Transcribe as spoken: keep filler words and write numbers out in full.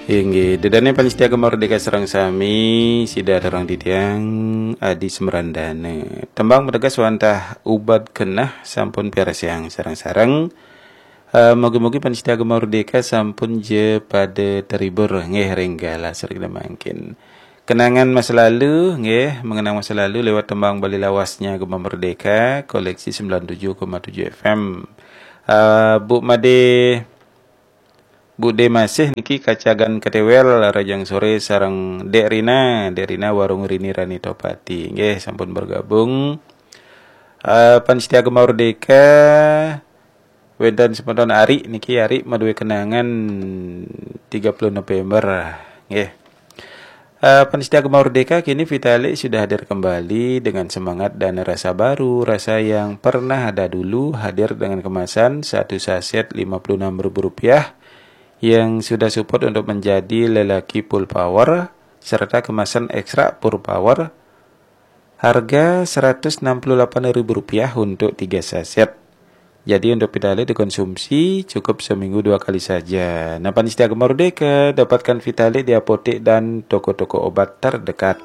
Inggih, ida dané pamiarsa Gema Merdeka sareng sami, sida rerang titiang Adi Semrandana. Tembang mateges wantah ubat genah sampun piarsayang sareng-sareng. Eh, mugi-mugi pamiarsa Gema Merdeka sampun ja pada terhibur nggih ring galah sareng mangkin. Kenangan masa lalu nggih, mengenang masa lalu lewat tembang Bali lawasnya Gema Merdeka, koleksi sembilan tujuh koma tujuh F M. Eh, Bu Made Bude Masih niki kacagan ketewel, rahajeng sore sareng Dek Rina, Dek Rina Warung Rini Rani Topati. Nggih, sampun bergabung. Eh, pamiarsa Gema Merdeka, wénten semeton Ari niki, Ari madué kenangan tiga puluh November. Nggih. Eh, pamiarsa Gema Merdeka, kini Vitalik sudah hadir kembali dengan semangat dan rasa baru, rasa yang pernah ada dulu, hadir dengan kemasan satu saset lima puluh enam ribu rupiah yang sudah support untuk menjadi lelaki full power, serta kemasan ekstra full power, harga seratus enam puluh delapan ribu rupiah untuk tiga saset. Jadi untuk Vitalik dikonsumsi cukup seminggu dua kali saja. Nah, pamiarsa Gema Merdeka, dapatkan Vitalik di apotek dan toko-toko obat terdekat.